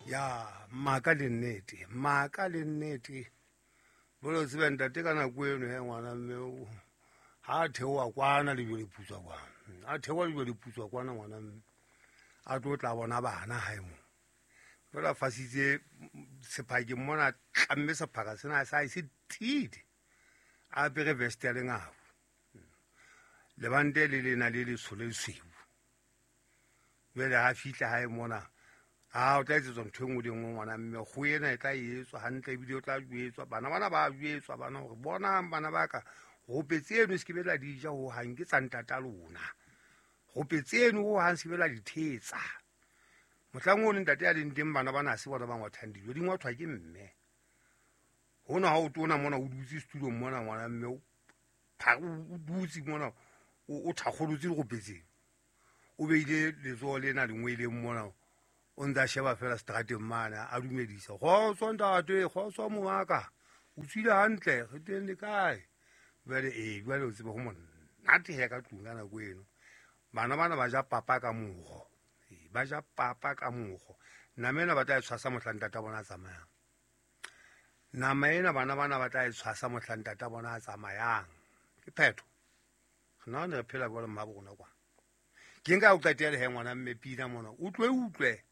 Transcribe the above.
Ya maka le nnete, maka le nnete. Bolo tsebe ntate ka nako eno he ngwana mme ha a theoha kwana lejwe le putswa kwana. A theoha lejwe le putswa kwana ngwana mme. A tlo tla bona bana hae mo. Jwale a fasitse sephakeng mona, tlamme sephaka sena sa hae se tiile. A apere vest ya lengau. Lebante le lena le letsho le lesweu. Jwale ha fihla hae mona, a o tla etsetswa ntho e nngwe le nngwe ngwana mme, kgoho ena e tla etswa hantle ebile o tla jwetswa. Bana bana ba jwetswa bana hore bonang bana ba ka, rope tseno se ke be la di ja hohang, ke tsa ntata lona. Rope tseno hohang se ke be la di thetsa. Mohlang ono ntate a leng teng bana bana ha se bona ba ngwathang dijo, di ngwathwa ke mme. Hona ha o tona mona o dutse setulong mona ngwana mme, o dutse mona o thakgolotse dirope tseno. O beile letsoho lena lengweleng mona, o ntse a sheba fela seterateng mane, a dumedisa. Kgotso ntate, kgotso mongaka, o tswile hantle, re teng le kae? Jwale ee, jwale o tsebe ho monate he ka tlung ka nako eno. Bana bana ba ja papa ka moro. Ee, ba ja papa ka moro. Nama ena ba tla e tshwasa mohla ntata bona a tsamayang. Nama ena bana bana ba tla e tshwasa mohla ntata bona a tsamayang. Ke phetho. Re nahana re phela jwalo mmabo rona kwana. Ke nka o qetele he ngwana mme pina mona. Utlwe utlwe.